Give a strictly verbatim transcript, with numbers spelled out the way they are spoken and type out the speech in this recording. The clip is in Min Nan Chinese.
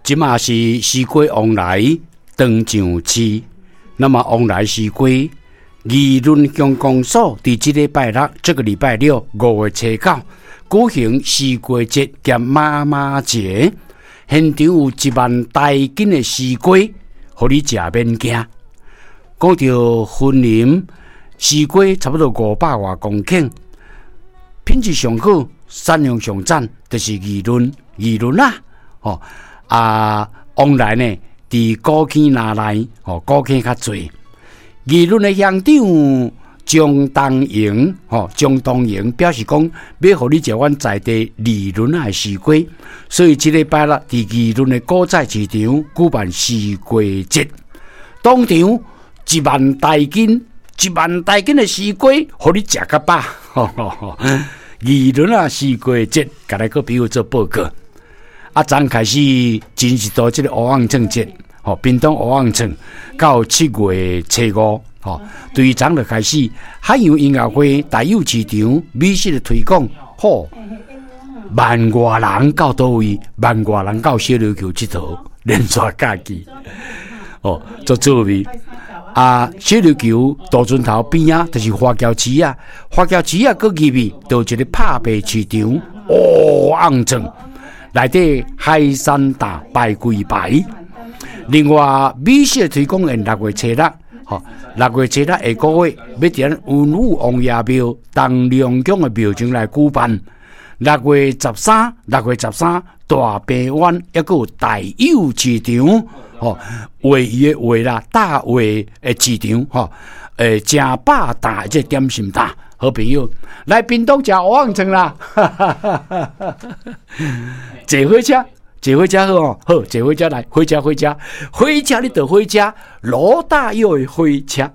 這馬是西瓜旺來當上市，那麼旺來西瓜議論鄉公所佇這禮拜六，這個禮拜六五月初九舉行西瓜節兼媽媽節，現場有一萬台斤的西瓜，予你食免驚。講著雲林西瓜差不多五百外公頃，品質上好，產量上讚，就是議論議論啦，吼啊，往來呢，佇古坑那內，吼古坑較濟。議論的鄉長張東榮，吼張東榮表示講，欲予你食阮在地議論仔的西瓜，所以這禮拜六佇議論的果菜市場舉辦西瓜節，當場一萬台斤，一萬台斤的西瓜，予你食較飽。議論仔西瓜節，共來閣比我做報告。啊，昨昏開始真是到這个烏甕節，吼，屏東烏甕到七月初五，吼，對昨就開始海洋音樂會大有市場美食的推廣，吼，萬外人到佗位，萬外人到小琉球𨑨迌，連續假期，哦，足趣味。啊，小琉球渡船頭邊仔就是華僑市啊，華僑市啊，閣入去就一个拍賣市場，烏甕內底海產檔排規排。另外，美食推廣宴六月初六，吼，六月初六下個月欲佇咱文武王爺廟東龍宮的廟前來舉辦。六月十三，六月十三大平灣抑閣有大有市場，吼，畫魚的畫啦，大畫的市場，吼，欸，食飽大這點心檔，好朋友來屏東食蚵仔腸啦，坐火車，坐火車好哦，好，坐火車來，火車火車，火車你坐火車，羅大佑的火車。